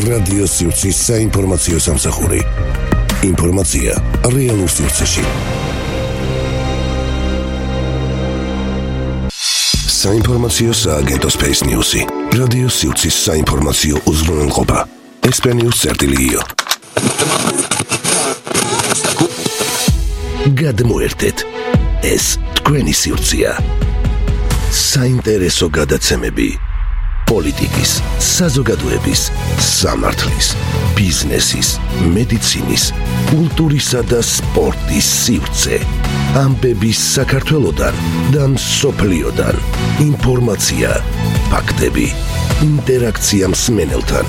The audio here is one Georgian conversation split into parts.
რადიო სივრცის საინფორმაციო სამსახური. ინფორმაცია რეალურ სივრცეში. საინფორმაციო სააგენტო Space News-ი. რადიო სივრცის საინფორმაციო უზრუნველყოფა. ესპანიურ წერტილიო. გადმოერთეთ. ეს თქვენი სივრცეა. საინტერესო გადაცემები. პოლიტიკის, საზოგადოების, სამართლის, ბიზნესის, მედიცინის, კულტურისა და სპორტის სივრცე. ამბების საქართველოდან და მსოფლიოდან. ინფორმაცია, ფაქტები, ინტერაქცია მსმენელთან.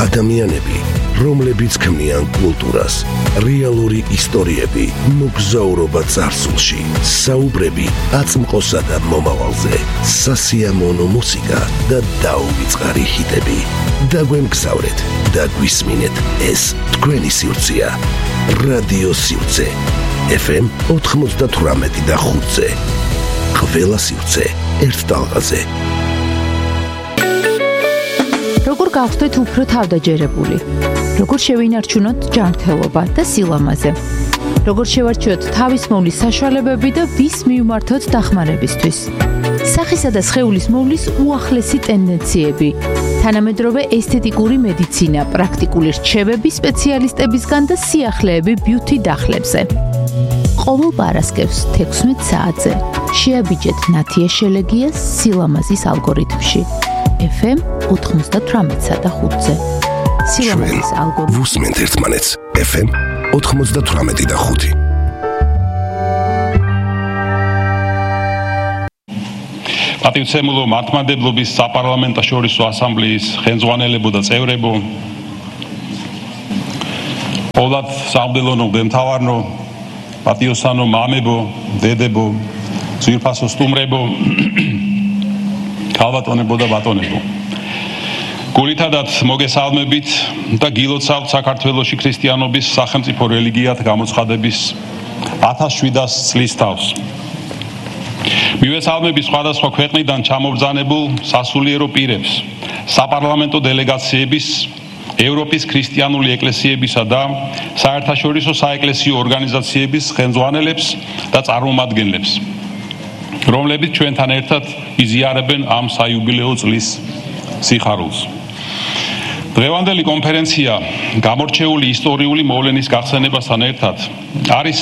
ადამიანები, რომლებიც ქმნიან კულტურას, რეალური ისტორიები, მოგზაურობა წარსულში, საუბრები აწმყოსა და მომავალზე, სასიამოვნო მუსიკა და დაუვიწყარი ჰიტები. დაგვემგზავრეთ და გვისმინეთ, ეს თქვენი სივრცეა. რადიო სივრცე. FM 98.5-ზე. ყველა სივრცე ერთ ტალღაზე. როგორ გავხდეთ უფრო თავდაჯერებული? როგორ შევინარჩუნოთ ჯანმრთელობა და სილამაზე? როგორ შევარჩიოთ თავის მოვლის საშუალებები და ვის მივმართოთ დახმარებისთვის? სახისა და სხეულის მოვლის უახლესი ტენდენციები, თანამედროვე ესთეტიკური მედიცინა, პრაქტიკული რჩევები სპეციალისტებისგან და სიახლეები ბიუთი დახლებზე. ყოველ პარასკევს 16 საათზე შეაბიჯეთ ნათია შელეგიას სილამაზის ალგორითმში. FM 98.5-ზე. სილამაზის ალგორითმი. ვუსმენთ ერთმანეთს. FM 98.5. პატივცემულო მართლმადიდებლობის საპარლამენტაშორისო ასამბლეის ხელმძღვანელებო და წევრებო, ყოვლად სამდელონო დემთავარნო, პატიოსანო მამებო, დედებო, ძვირფასო სტუმრებო, ქალბატონებო და ბატონებო. გულითადაც მოგესალმებით და გილოცავთ საქართველოში ქრისტიანობის სახელმწიფო რელიგიად გამოცხადების 1700 წლის თავს. მივესალმებით სხვადასხვა ქვეყნიდან ჩამობრძანებულ სასულიერო პირებს, საპარლამენტო დელეგაციების, ევროპის ქრისტიანული ეკლესიებისა და საერთაშორისო საეკლესიო ორგანიზაციების ხელმძღვანელებს და წარმომადგენლებს, რომლებიც ჩვენთან ერთად იზიარებენ ამ საიუბილეო წლის სიხარულს. დღევანდელი კონფერენცია გამორჩეული ისტორიული მოვლენის გახსენებასთან ერთად არის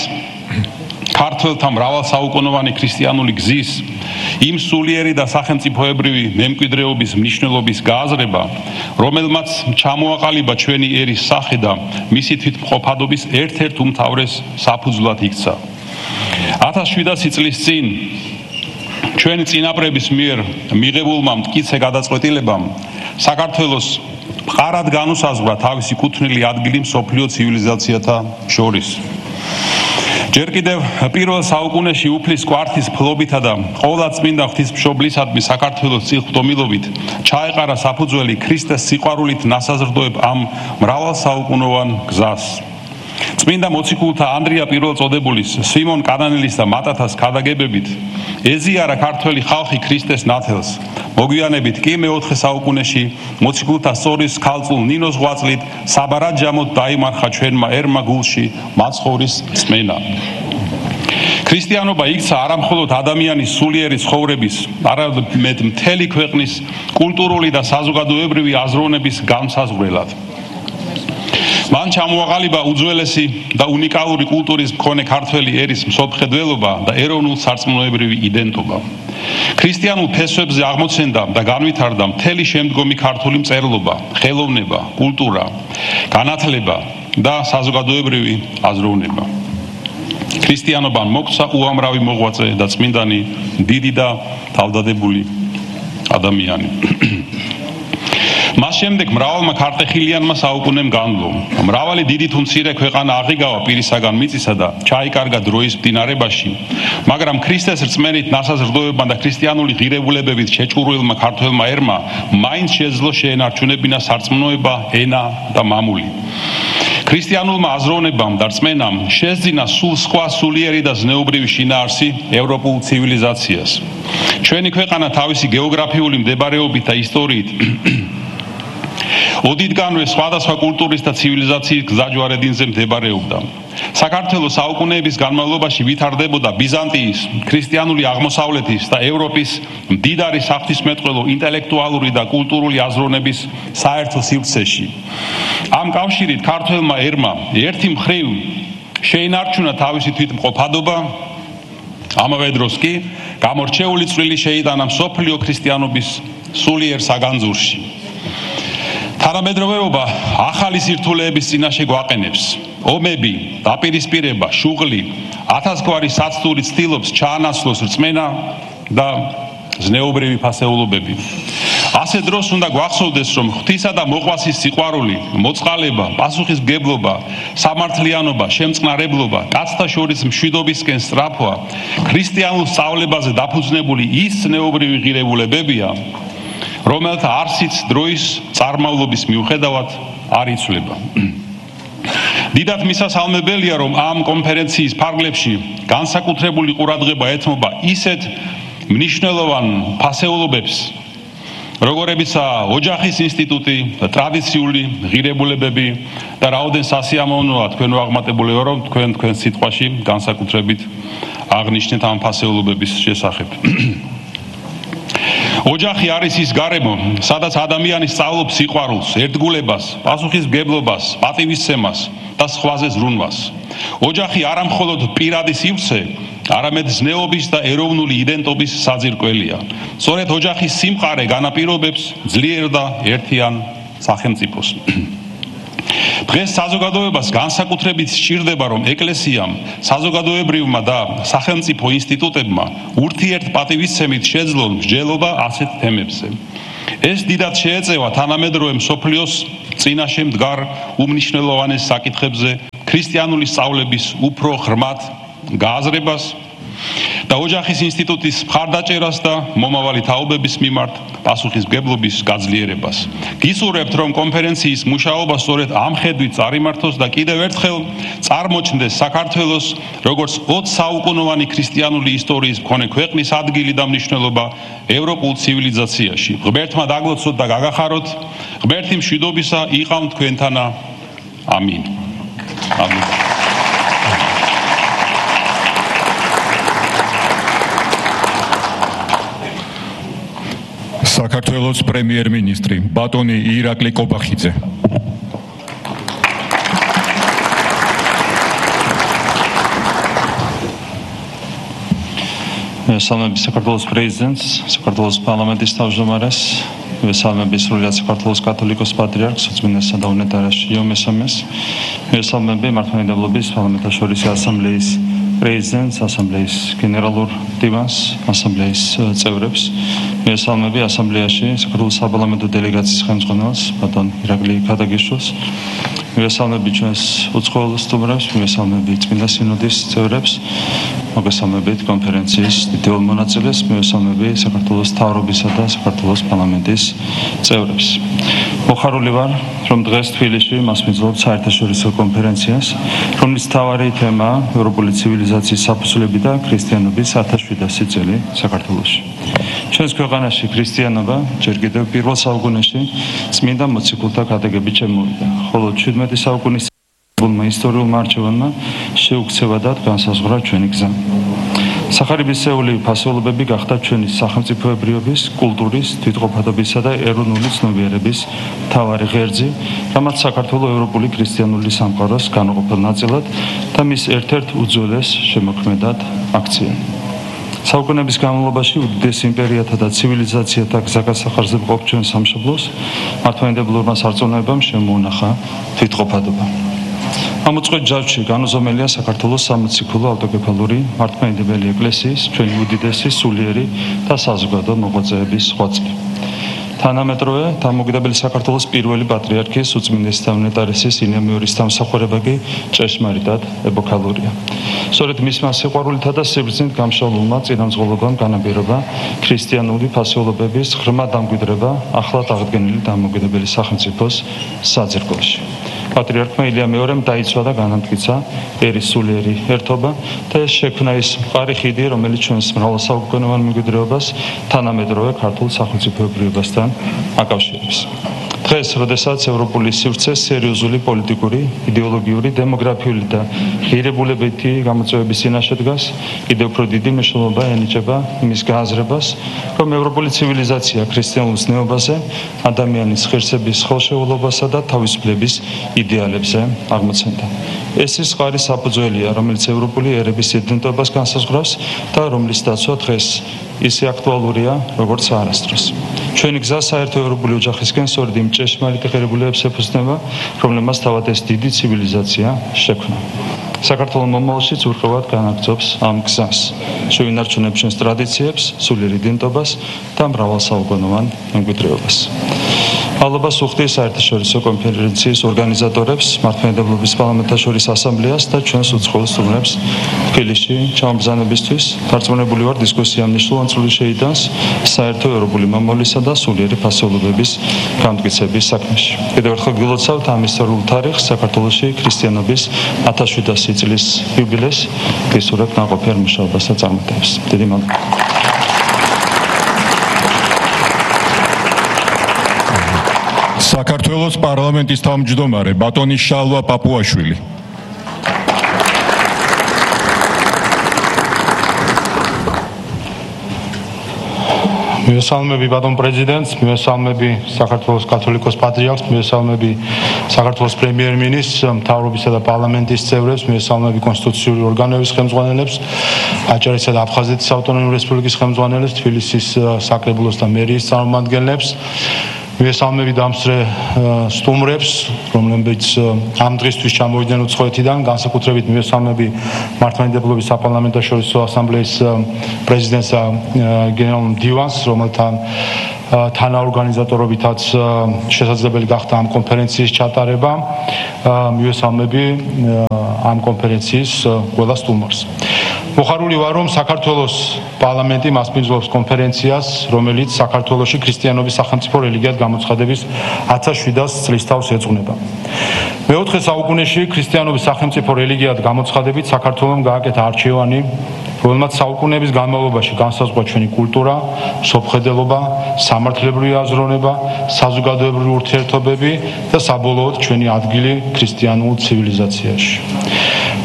ქართველთა მრავალსაუკუნოვანი ქრისტიანული გზის იმ სულიერი და სახელმწიფოებრივი მემკვიდრეობის მნიშვნელობის გააზრება, რომელმაც ჩამოაყალიბა ჩვენი ერის სახე და მისი თვითმყოფადობის ერთ-ერთ უმთავრეს საფუძვლად იქცა. 1700 წლის წინ ჩვენი წინაპრების მიერ მიღებულმა მტკიცე გადაწყვეტილებამ საქართველოს მყარად განუსაზღვრა თავისი კუთვნილი ადგილი მსოფლიო ცივილიზაციათა შორის. ჯერ კიდევ პირველ საუკუნეში უფლის კვართის ფლობითა და ყოვლადწმინდა ღვთისმშობლისადმი საქართველოს წილხვდომილობით ჩაეყარა საფუძველი ქრისტეს სიყვარულით ნასაზრდოებ ამ მრავალსაუკუნოვან გზას. წმინდა მოციქულთა ანდრია პირველწოდებულის, სიმონ კანანელის და მატათას ქადაგებებით ეზიარა ქართველი ხალხი ქრისტეს ნათელს. მოგვიანებით კი მეოთხე საუკუნეში მოციქულთა სწორის ქალწულ ნინოს ღვაწლით საბარაჯამოდ დაიმარხა ჩვენმა ერმა გულში მაცხოვრის წმენა. ქრისტიანობა იქცა არამხოლოდ ადამიანის სულიერი ცხოვრების, არამედ მთელი ქვეყნის კულტურული და საზოგადოებრივი აზროვნების განმსაზღვრელად. მან ჩამოაყალიბა უძველესი და უნიკალური კულტურის მქონე ქართველი ერის მსოფლმხედველობა და ეროვნულ-სარწმუნოებრივი იდენტობა. ქრისტიანულ ფესვებზე აღმოცენდა და განვითარდა მთელი შემდგომი ქართული მწერლობა, ხელოვნება, კულტურა, განათლება და საზოგადოებრივი აზროვნება. ქრისტიანობამ მოგვცა უამრავი მოღვაწე და წმინდანი, დიდი და თავდადებული ადამიანი. მას შემდეგ მრავალმა ქართეხილიანმა საუკუნემ განვლო. მრავალი დიდი თუ მცირე ქვეყანა აღიგავა პირისაგან მიწისა და ჩაიკარგა დროის მდინარებაში, მაგრამ ქრისტეს რწმენით ნასაზრდოებმა და ქრისტიანული ღირებულებებით შეჭურულმა ქართველმა ერმა მაინც შეძლო შეენარჩუნებინა სარწმუნოება, ენა და მამული. ქრისტიანულმა აზროვნებამ და რწმენამ შესძინა სულ სხვა სულიერი და ზნეობრივი შინაარსი ევროპულ ცივილიზაციას. ჩვენი ქვეყანა თავისი გეოგრაფიული მდებარეობით და ისტორიით ოდითგანვე სხვადასხვა კულტურის და ცივილიზაციის გზაჯვარედინზე მდებარეობდა. საქართველოს საუკუნეების განმავლობაში ვითარდებოდა ბიზანტიის, ქრისტიანული აღმოსავლეთის და ევროპის მდიდარი საღვთისმეტყველო ინტელექტუალური და კულტურული აზროვნების საერთო სივრცეში. ამ კავშირით ქართველმა ერმა ერთი მხრივ შეინარჩუნა თავისი თვითმყოფადობა, ამავე დროს კი გამორჩეული წვლილი შეიტანა მსოფლიო ქრისტიანობის სულიერ საგანძურში. თანამედროვეობა ახალი სირთულეების წინაშე გვაყენებს. ომები, დაპირისპირება, შუღლი, ათასგვარი საცდური ცდილობს ჩაანაცვლოს რწმენა და ზნეობრივი ფასეულობები. ასე დროს უნდა გვახსოვდეს, რომ ღვთისა და მოყვასის სიყვარული, მოწყალება, პასუხისმგებლობა, სამართლიანობა, შემწყნარებლობა, კაცთა შორის მშვიდობისკენ სწრაფვა, ქრისტიანულ სწავლებაზე დაფუძნებული ის ზნეობრივი ღირებულებებია, რომელთა არსიც დროის წარმავლობის მიუხედავად არ იცვლება. დიდად მისასალმებელია, რომ ამ კონფერენციის ფარგლებში განსაკუთრებული ყურადღება ეთმობა ისეთ მნიშვნელოვან ფასეულობებს, როგორებიცაა ოჯახის ინსტიტუტი, ტრადიციული ღირებულებები და რაოდენ სასიამოვნოა თქვენ ვაღმატებულიო, რომ თქვენ სიტყვაში განსაკუთრებით აღნიშნეთ ამ ფასეულობების შესახებ. ოჯახი არის ის გარემო, სადაც ადამიანი სწავლობს სიყვარულს, ერთგულებას, პასუხისმგებლობას, პატივისცემას და სხვაზე ზრუნვას. ოჯახი არა მხოლოდ პირადი სივრცე, არამედ ზნეობის და ეროვნული იდენტობის საძირკველია. სწორედ ოჯახის სიმყარე განაპირობებს ძლიერ და ერთიან სახელმწიფოს. დღეს საზოგადოებას განსაკუთრებით სჭირდება, რომ ეკლესიამ, საზოგადოებრივმა და სახელმწიფო ინსტიტუტებმა ურთიერთპატივისცემით შეძლონ მსჯელობა ასეთ თემებზე. ეს დიდად შეეწევა თანამედროვე მსოფლიოს წინაშე მდგარ უმნიშვნელოვანეს საკითხებზე ქრისტიანული სწავლების უფრო ღრმად გააზრებას და ოჯახის ინსტიტუტის მხარდაჭერას და მომავალი თაობების მიმართ პასუხისმგებლობის გაძლიერებას. გისურვებთ, რომ კონფერენციის მუშაობა სწორედ ამ ხედვით წარიმართოს და კიდევ ერთხელ წარმოჩნდეს საქართველოს როგორც 20 საუკუნოვანი ქრისტიანული ისტორიის მქონე ქვეყნის ადგილი და მნიშვნელობა ევროპულ ცივილიზაციაში. ღმერთმა დაგლოცოთ და გაგახაროთ, ღმერთი მშვიდობისა იყავთ თქვენთანა. ამინ. ამინ. საქართველოს პრემიერ-მინისტრი ბატონი ირაკლი კობახიძე. მესალმები საქართველოს პრეზიდენტს, საქართველოს პარლამენტის თავმჯდომარეს, მესალმები სრულიად საქართველოს კათოლიკოს პატრიარქს, უწმინდესსა და უნეტარეს იო მესამეს, მესალმები მართლმადიდებლობის პარლამენტაშორისი ასამბლეის პრეზიდენტს, ასამბლეის გენერალურ დივანს, ასამბლეის წევრებს, მესალმები ასამბლეაში საქართველოს საპარლამენტო დელეგაციის ხელმძღვანელს, ბატონ ირაკლი ქადაგიშვილს, მესალმები ჩვენს უცხოელ სტუმრებს, მესალმები წმინდა სინოდის წევრებს, მოგესალმებით კონფერენციის დიდებულ მონაწილეს, მესალმები საქართველოს მთავრობისა და საქართველოს პარლამენტის წევრებს. მოხარული ვარ, რომ დღეს თბილისში მასპინძლობ საერთაშორისო კონფერენციას, რომლის მთავარი თემაა ევროპული ცივილიზაციის საფუძვლები და ქრისტიანობის 1700 წელი საქართველოში. ჩვენს ქვეყანაში ქრისტიანობა ჯერ კიდევ პირველ საუკუნეში წმინდა მოციქულთა ქადაგებით შემოვიდა, ხოლო 17 საუკუნის ისტორიულმა არჩევანმა შეუქცევადად განსაზღვრა ჩვენი გზა. სახარებისეული ფასეულობები გახდა ჩვენი სახელმწიფოებრიობის, კულტურის, თვითყოფადობისა და ეროვნული ცნობიერების მთავარი ღერძი, რამაც საქართველოს ევროპული ქრისტიანული სამყაროს განუყოფელ ნაწილად და მის ერთ-ერთ უძველეს შემოქმედად აქცია. საუკუნეების განმავლობაში უდიდეს იმპერიათა და ცივილიზაციათა გზაგასახარზე მყოფ ჩვენ სამშობლოს მართლმადიდებლურმა სარწმუნოებამ შემოუნახა თვითყოფადობა. ამ უწყვეტ ჯაჭვში განუზომელია საქართველოს სამოციქულო ავტოკეფალური მართლმადიდებელი ეკლესიის ჩვენი უდიდესი სულიერი და საზოგადო მოღვაწეების ღვაწლი. თანამედროვე დამოუკიდებელი საქართველოს პირველი პატრიარქის უწმინდესისა და უნეტარესის ინემიორის დამსახურება კი ჭეშმარიტად ეპოქალურია. სწორედ მისმა სიყვარულითა და სიბრძნით გამშვალულმა წინამძღოლობამ განაპირობა ქრისტიანული ფასეულობების ღრმა დამკვიდრება ახლად აღდგენილი დამოუკიდებელი სახელმწიფოს საძირკველში. პატრიარქმა ილია მეორემ დაიცვა და განამტკიცა ერის სულიერი ერთობა და ეს შექმნა ის მყარი ხიდი, რომელიც ჩვენს მრავალსაუკუნოვან მემკვიდრეობას თანამედროვე ქართულ სახელმწიფოებრიობასთან აკავშირებს. დღეს, როდესაც ევროპული სივრცე სერიოზული პოლიტიკური, იდეოლოგიური, დემოგრაფიული და ღირებულებითი გამოწვევების წინაშე დგას, კიდევ უფრო დიდი მნიშვნელობა ენიჭება იმის გააზრებას, რომ ევროპული ცივილიზაცია ქრისტიანულ ზნეობაზე, ადამიანის ღირსების ხელშეულობასა და თავისუფლების იდეალებზე აღმოცენდა. ეს ის ხარი საფუძველია, რომელიც ევროპული ერების იდენტობას განსაზღვრავს და რომლის დაცვა დღეს ისე აქტუალურია, როგორც არასდროს. ჩვენი გზა საერთო ევროპული ოჯახისკენ სწორედ იმ ჭეშმარიტ ღირებულებებს ეფუძნება, რომლებმაც თავად ეს დიდი ცივილიზაცია შექმნა. საქართველოს მომავალშიც ურყევად განაგრძობს ამ გზას, შევინარჩუნებ ჩვენს ტრადიციებს, სულიერ იდენტობას და მრავალსაუკუნოვან მემკვიდრეობას. მადლობას ვუხდი საერთაშორისო კონფერენციის ორგანიზატორებს, მართლმადიდებლობის პარლამენტაშორის ასამბლეას და ჩვენს უცხოელ სტუმრებს თბილისში ჩამბრძანებისთვის. დარწმუნებული ვარ, დისკუსია მნიშვნელოვან წვლილს შეიტანს საერთო ევროპული მომავლისა და სულიერი ფასეულობების გამტკიცების საქმეში. კიდევ ერთხელ გილოცავთ ამ ისტორიულ თარიღს, საქართველოში ქრისტიანობის 1700 წლის იუბილეს, გისურვებთ ნაყოფიერ მუშაობას და წარმატებებს. დიდი მადლობა. საქართველოს პარლამენტის თავმჯდომარე ბატონი შალვა პაპუაშვილი. მივესალმები ბატონ პრეზიდენტს, მივესალმები საქართველოს კათოლიკოს პატრიარქს, მივესალმები საქართველოს პრემიერ-მინისტრს, მთავრობისა და პარლამენტის წევრებს, მივესალმები კონსტიტუციური ორგანოების ხელმძღვანელებს, აჭარისა და აფხაზეთის ავტონომიური რესპუბლიკის ხელმძღვანელებს, თბილისის საკრებულოს და მერიის წარმომადგენლებს. მივესალმები დამსწრე სტუმრებს, რომლებიც ამ დღისთვის ჩამოვიდნენ უცხოეთიდან, განსაკუთრებით მივესალმები მართლმადიდებლობის საპარლამენტაშორისო ასამბლეის პრეზიდენტს და გენერალურ მდივანს, რომელთან თანაორგანიზატორობითაც შესაძლებელი გახდა ამ კონფერენციის ჩატარება. მივესალმები ამ კონფერენციის ყველა სტუმარს. მოხარული ვარ, რომ საქართველოს პარლამენტი მასპინძლობს კონფერენციას, რომელიც საქართველოში ქრისტიანობის სახელმწიფო რელიგიად გამოცხადების 1700 წლის თავს ეძღვნება. მეოთხე საუკუნეში ქრისტიანობის სახელმწიფო რელიგიად გამოცხადებით საქართველომ გააკეთა არჩევანი, რომელმაც საუკუნეების განმავლობაში განსაზღვრა ჩვენი კულტურა, სოფხედელობა, სამართლებრივი აზროვნება, საზოგადოებრივი ურთიერთობები და საბოლოოდ ჩვენი ადგილი ქრისტიანულ ცივილიზაციაში.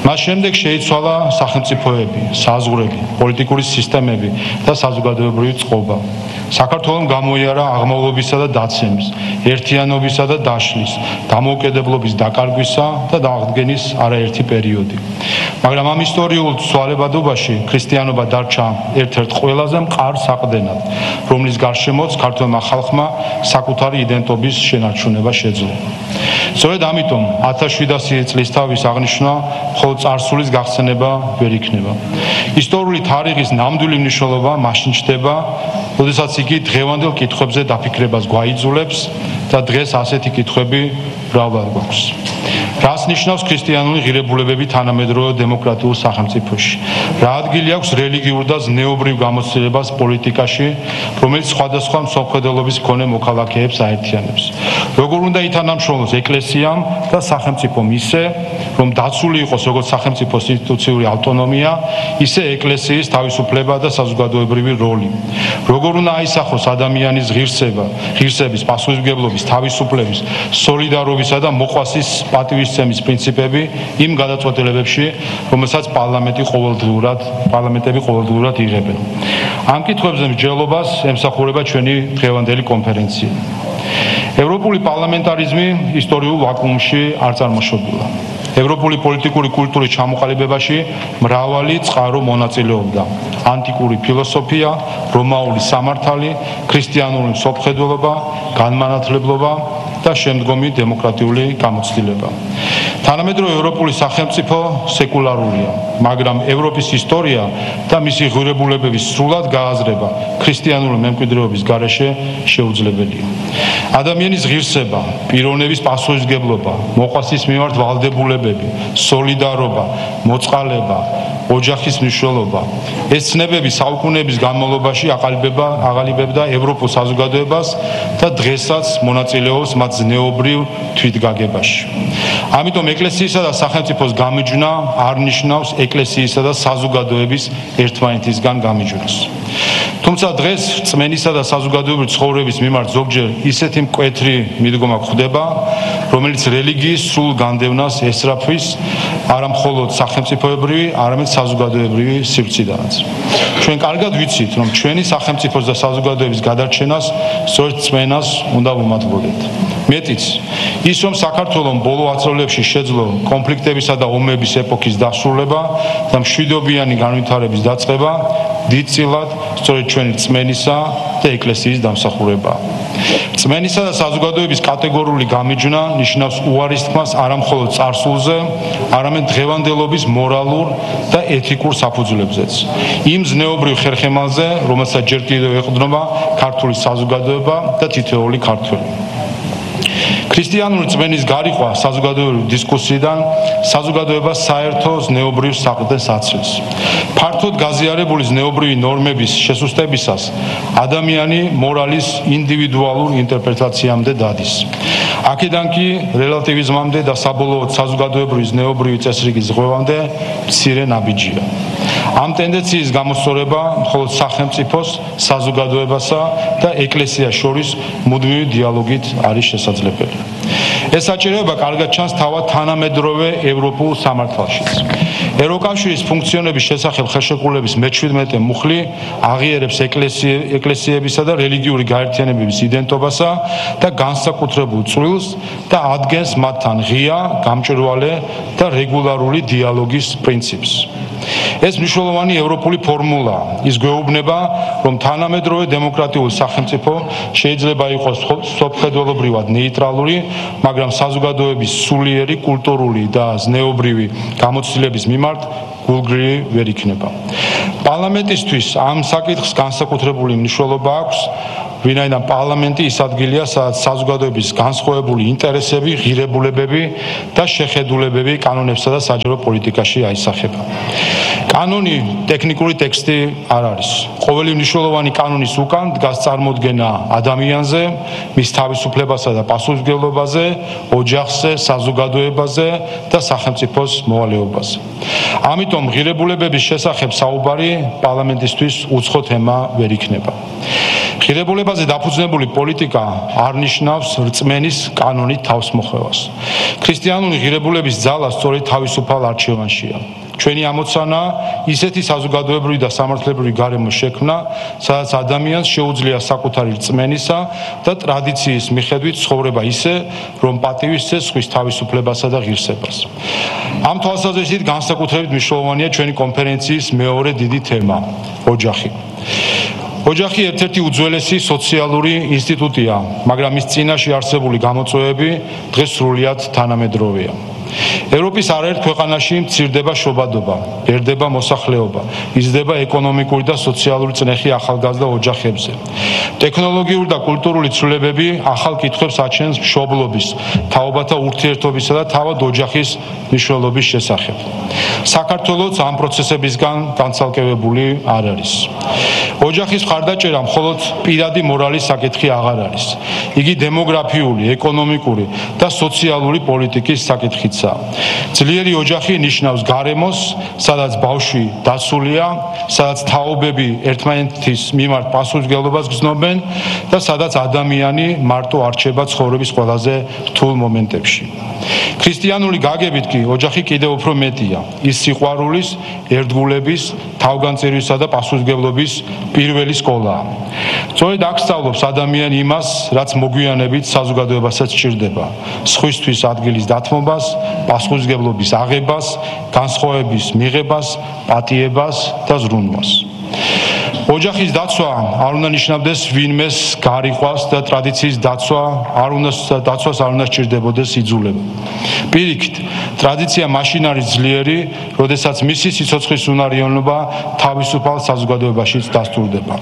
მას შემდეგ შეიცვალა სახელმწიფოები, საზღვრები, პოლიტიკური სისტემები და საზოგადოებრივი წყობა. საქართველომ გამოიარა აღმავლობისა და დაცემის, ერთიანობისა და დაშლის, დამოუკიდებლობის დაკარგვისა და დააღდგენის არაერთი პერიოდი. მაგრამ ამ ისტორიულ ცვალებადობაში ქრისტიანობა დარჩა ერთ-ერთ ყველაზე მყარ საყრდენად, რომლის გარშემოც ქართველმა ხალხმა საკუთარი იდენტობის შენარჩუნება შეძლო. სწორედ ამიტომ 1700 წლის თავის აღნიშვნა მხოლოდ წარსულის გახსენება ვერ იქნება. ისტორიული თარიღის ნამდვილი მნიშვნელობა მაშინ ჩნდება, როდესაც იგი დღევანდელ კითხვებზე დაფიქრებას გვაიძულებს და დღეს ასეთი კითხვები მრავლად გვაქვს. რას ნიშნავს ქრისტიანული ღირებულებები თანამედროვე დემოკრატიულ სახელმწიფოში? რა ადგილი აქვს რელიგიურ და ზნეობრივ გამოცდილებას პოლიტიკაში, რომელიც სხვადასხვა მსოფლმხედველობის მქონე მოქალაქეებს აერთიანებს? როგორ უნდა ითანამშრომლოს ეკლესიამ და სახელმწიფომ ისე, რომ დაცული იყოს როგორც სახელმწიფოს ინსტიტუციური ავტონომია, ისე ეკლესიის თავისუფლება და საზოგადოებრივი როლი? როგორ უნდა აისახოს ადამიანის ღირსების, პასუხისმგებლობის, თავისუფლების, სოლიდარობისა და მოყვასის პატივისცემის პრინციპები იმ გადაწყვეტილებებში, რომელსაც პარლამენტები ყოველდღურად იღებენ. ამ კითხვებზე მსჯელობას ემსახურება ჩვენი დღევანდელი კონფერენცია. ევროპული პარლამენტარიზმი ისტორიულ ვაკუუმში არ წარმოშობილა. ევროპული პოლიტიკური კულტურის ჩამოყალიბებაში მრავალი წყარო მონაწილეობდა. ანტიკური ფილოსოფია, რომაული სამართალი, ქრისტიანული მსოფლმხედველობა, განმანათლებლობა და შემდგომი დემოკრატიული გამოცდილება. თანამედროვე ევროპული სახელმწიფო სეკულარულია, მაგრამ ევროპის ისტორია და მისი ღირებულებების სრულად გააზრება ქრისტიანული მემკვიდრეობის გარეშე შეუძლებელია. ადამიანის ღირსება, პიროვნების პასუხისმგებლობა, მოყვასის მიმართ ვალდებულებები, სოლიდარობა, მოწყალება, ოჯახის მნიშვნელობა. ეს ცნებები საუკუნეების განმავლობაში აყალიბებდა ევროპულ საზოგადოებას და დღესაც მონაწილეობს მათ ზნეობრივ თვითგაგებაში. ამიტომ ეკლესიისა და სახელმწიფოს გამიჯვნა არ ნიშნავს ეკლესიისა და საზოგადოების ერთმანეთისგან გამიჯვნას. თუმცა დღეს რწმენისა და საზოგადოებრივი ცხოვრების მიმართ ზოგჯერ ისეთი მკვეთრი მიდგომა გვხვდება, რომელიც რელიგიის სრულ განდევნას ესწრაფვის არა მხოლოდ სახელმწიფოებრივი, არამედ საზოგადოებრივი სივრციდანაც. ჩვენ კარგად ვიცით, რომ ჩვენი სახელმწიფოს და საზოგადოების გადარჩენას სწორედ რწმენას უნდა ვუმატებოდეთ. მეტიც, ის რომ საქართველოს ბოლო ათწლეულებში შეძლო კონფლიქტებისა და ომების ეპოქის დასრულება და მშვიდობიანი განვითარების დაწყება, დიდწილად სწორედ ჩვენი რწმენისა და ეკლესიის დამსახურებაა. რწმენისა და საზოგადოების კატეგორიული გამიჯვნა ნიშნავს უარის თქმას არა მხოლოდ წარსულზე, არამედ დღევანდელობის მორალურ და ეთიკურ საფუძვლებზეც. იმ ზნეობრივ ხერხემალზე, რომელსაც ჯერ კიდევ ეყრდნობა ქართული საზოგადოება და თითოეული ქართველი. ქრისტიანული რწმენის გარიყვა საზოგადოებრივ დისკუსიიდან საზოგადოებას საერთო ზნეობრივ საყრდენს აცილს. ფართოდ გაზიარებული ზნეობრივი ნორმების შესუსტებისას ადამიანი მორალის ინდივიდუალურ ინტერპრეტაციამდე დადის. აქედან კი რელატივიზმამდე და საბოლოოდ საზოგადოებრივი ზნეობრივი წესრიგის ზღვევამდე მცირე ნაბიჯია. ამ ტენდენციის გამოსწორება მხოლოდ სახელმწიფოს, საზოგადოებასა და ეკლესიას შორის მუდმივი დიალოგით არის შესაძლებელი. ეს საჭიროება კარგად ჩანს თავად თანამედროვე ევროპულ სამართალშიც. ევროკავშირის ფუნქციონების შესახებ ხელშეკრულების მე-17 მუხლი აღიარებს ეკლესიებისა და რელიგიური გაერთიანებების იდენტობასა და განსაკუთრებულ წვლილს და ადგენს მათთან ღია, გამჭვირვალე და რეგულარული დიალოგის პრინციპს. ეს მნიშვნელოვანი ევროპული ფორმულა. ის გვეუბნება, რომ თანამედროვე დემოკრატიული სახელმწიფო შეიძლება იყოს სოფხედველობრივად ნეიტრალური, მაგრამ საზოგადოების სულიერი კულტურული და ზნეობრივი გამოცდილების მიმართ გულგრილი ვერ იქნება. პარლამენტისთვის ამ საკითხს განსაკუთრებული მნიშვნელობა აქვს, ვინაიდან პარლამენტი ის ადგილია, სადაც საზოგადოების განსხვავებული ინტერესები, ღირებულებები და შეხედულებები კანონებსა და საჯარო პოლიტიკაში აისახება. კანონი ტექნიკური ტექსტი არ არის. ყოველი მნიშვნელოვანი კანონის უკან დგას წარმოდგენა ადამიანზე, მის თავისუფლებასა და პასუხისმგებლობაზე, ოჯახზე, საზოგადოებაზე და სახელმწიფოს მოვალეობაზე. ამიტომ ღირებულებების შესახებ საუბარი პარლამენტისთვის უცხო თემა ვერ იქნება. ღირებულებაზე დაფუძნებული პოლიტიკა არ ნიშნავს რწმენის კანონით თავსმოხვევას. ქრისტიანული ღირებულების ძალა სწორედ თავისუფალ არჩევანშია. ჩვენი ამოცანა ისეთი საზოგადოებრივი და სამართლებრივი გარემო შექმნა, სადაც ადამიანს შეუძლია საკუთარი რწმენისა და ტრადიციის მიხედვით ცხოვრება ისე, რომ პატივისცეს სხვის თავისუფლებასა და ღირსებას. ამ თვალსაზრისით განსაკუთრებით მნიშვნელოვანია ჩვენი კონფერენციის მეორე დიდი თემა ოჯახი. ოჯახი ერთ-ერთი უძველესი სოციალური ინსტიტუტია, მაგრამ მის წინაშე არსებული გამოწვევები დღეს სრულიად თანამედროვეა. ევროპის არაერთ ქვეყანაში მცირდება შობადობა, ერდება მოსახლეობა, იზრდება ეკონომიკური და სოციალური წნეხი ახალგაზრდა ოჯახებზე. ტექნოლოგიური და კულტურული ცვლილებები ახალ კითხვებს აჩენს მშობლობის, თაობათა ურთიერთობისა და თავად ოჯახის მნიშვნელობის შესახებ. საქართველოს ამ პროცესებისგან განცალკევებული არ არის. ოჯახის მხარდაჭერა მხოლოდ პირადი მორალის საკითხი აღარ არის. იგი დემოგრაფიული, ეკონომიკური და სოციალური პოლიტიკის საკითხიც. ძლიერი ოჯახი ნიშნავს გარემოს, სადაც ბავშვი დაცულია, სადაც თაობები ერთმანეთის მიმართ პასუხისმგებლობას გრძნობენ და სადაც ადამიანი მარტო არჩება ცხოვრების ყველაზე რთულ მომენტებში. ქრისტიანული გაგებით კი ოჯახი კიდევ უფრო მეტია. ის სიყვარულის, ერთგულების, თავგანწირვისა და პასუხისმგებლობის პირველი სკოლაა. სწორედ აქ სწავლობს ადამიანი იმას, რაც მოგვიანებით საზოგადოებასაც სჭირდება: სხვისთვის ადგილის დათმობას, პასუხისმგებლობის აღებას, განსხვავების მიღებას, პატიებას და ზრუნვას. ოჯახის დაცვა არ უნდა ნიშნავდეს ვინმეს გარიყვას და ტრადიციის დაცვას არ უნდა სჭირდებოდეს იძულება. პირიქით, ტრადიცია მაშინ არის ძლიერი, როდესაც მისი სიცოცხლის უნარიანობა თავისუფალ საზოგადოებაშიც დასტურდება.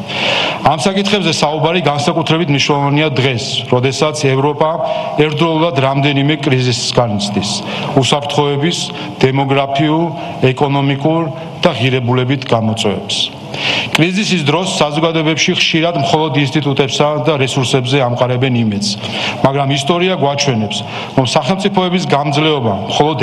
ამ საკითხებზე საუბარი განსაკუთრებით მნიშვნელოვანია დღეს, როდესაც ევროპა ერთდროულად რამდენიმე კრიზისს განიცდის: უსაფრთხოების, დემოგრაფიულ, ეკონომიკურ და ღირებულებით გამოწვევებს. კრიზისის დროს საზოგადოებებში ხშირად მხოლოდ ინსტიტუტებსა და რესურსებზე ამყარებენ იმედს, მაგრამ ისტორია გვაჩვენებს, რომ სახელმწიფოების გამძლეობა მხოლოდ